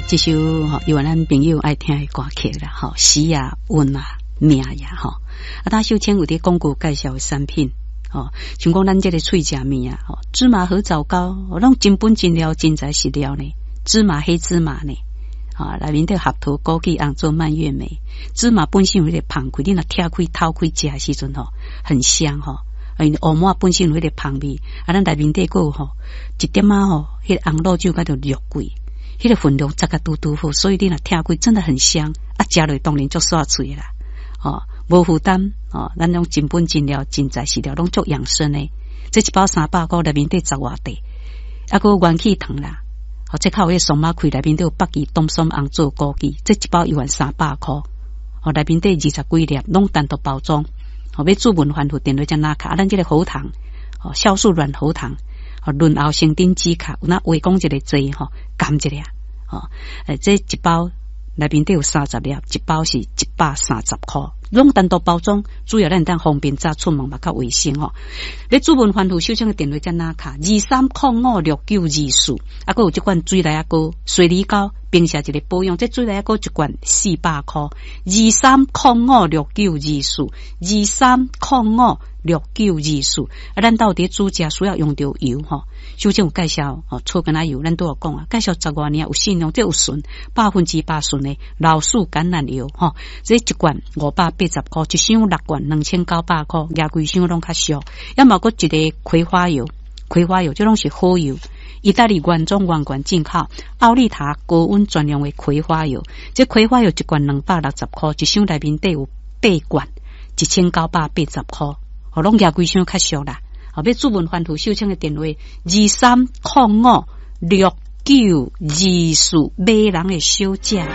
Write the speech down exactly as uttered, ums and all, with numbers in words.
這首吼，猶原咱朋友愛聽的歌曲啦，吼，時啊，運啊，命呀，吼。啊，當秀清有佇廣告介紹的產品，吼，像講咱這个喙食物啊，吼，芝麻核棗糕，攏真本真料，真材實料呢，芝麻黑芝麻呢，啊，內面底合桃、枸杞、紅棗、蔓越莓，芝麻本身有彼个芳氣，你若拆開、掏開食的時陣吼，很香吼。因為烏麻本身有彼個芳味，啊，咱內面底閣有吼一點仔吼，彼个紅露酒佮著肉桂，彼個分量十個拄拄好，所以你若拆開真的很香，啊，食落當然足煞喙啦，吼，無負擔，吼，咱攏真本真料、真材實料，攏足養生的。這一包三百箍，內面底十外塊，啊，閣有元氣糖啦，吼，這較有彼個桑馬開內面底有北芪、冬筍、紅棗、枸杞，這一包猶原三百箍，吼，內面底二十幾粒，攏單獨包裝。吼，欲主問反覆電話才拿卡，啊，咱這個喉糖，吼，酵素軟喉糖，吼，潤喉生津止咳，有那話講一个濟吼，含一下，吼，欸，這一包內面底有三十粒，一包是一百三十箍，攏單獨包裝，主要咱當方便早出門嘛較衛生吼。欲主問反覆秀清的電話才拿卡，二三空五六九二四，啊，閣有這款水梨仔膏、水梨膏，平時一個保養，這水梨仔膏一罐四百箍，二三空五六九二四，二三空五六九二四。啊，咱到底煮食需要用著油吼，秀清有介紹吼，草根仔油，咱拄有講啊，介紹十外年有信用，這有純百分之百純的老樹橄欖油吼，這一罐五百八十箍，一箱六罐兩千九百箍，舉規箱攏較俗。猶嘛閣一個葵花油，葵花油這攏是好油。意大利原裝原罐進口，奧利塔高溫專用的葵花油，這葵花油一罐兩百六十箍，一箱內面底有八罐，一千九百八十箍，吼，攏舉規箱較俗啦。後欲主問反覆秀清的電話二三空五六九二四，買人的小姐。